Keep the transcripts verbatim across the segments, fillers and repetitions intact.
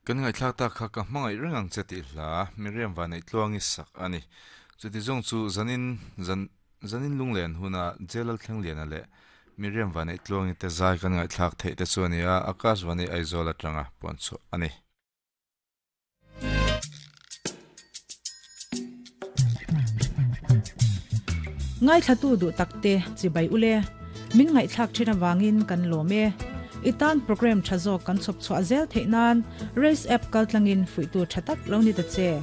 Kan ngai thlak ta kha ka hmangai rengang che ti hla Miriam Vanei tluangi sak ani. Chuti zong chu zanin zan zanin lunglen huna Jelal Thlengliana le Miriam Vanei tluangi te zai kan ngai thlak thei te chu ania Akash Vani Aizawl atanga pon chu ani. Ngai thlatu du takte chibai ule min ngai thlak thina wangin kan lome itan program thazo kan chop chwa zel theinan race app kaltlangin fuitu thatak lo ni ta che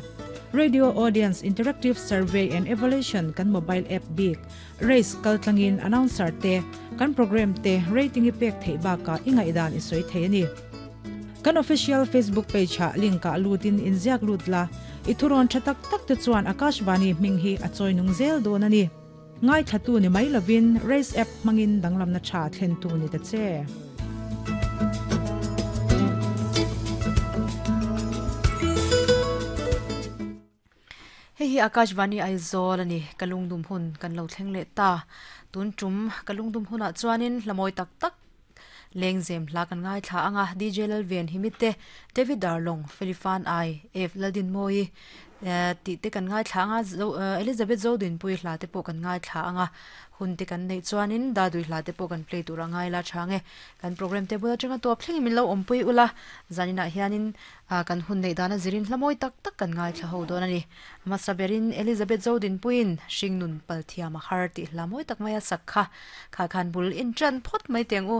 Radio Audience Interactive Survey and Evaluation kan mobile app big race kaltlangin announcer te kan program te rating i pek thei ba ka ingai dan i soi thei ani kan official Facebook page ha link ka lutin inziak lutla ithuron thatak tak te chuan Akashvani ming hi achoi nung zel don ani ngai thatu ni mai lovin race app mangin danglam na tha thlen tu ni ta che. Hei hi Akashvani Aizawl ani kalungdum hun kan lo thleng le ta tun tum kalungdum huna chuanin hlamoi tak tak lengzem hla kan ngai thla anga D J Lalven Himite David Darlong Felifan I F Ladin Moi ti te kan ngai thla anga Elizabeth Zodin pui hla te pawh kan ngai thla anga hun te kan nei chuanin da dui hla te pawh kan play tur angai la change kan program te bula changa top thleng min lo awmpui ula zanina hianin kan hun nei dana zirin hlamoi tak tak kan ngai thla ho don ani masaberin Elizabeth Zodin puin hringnun palthiam a har ti hlamoi tak maya sakha kha khan bul in tran phot mai teng u.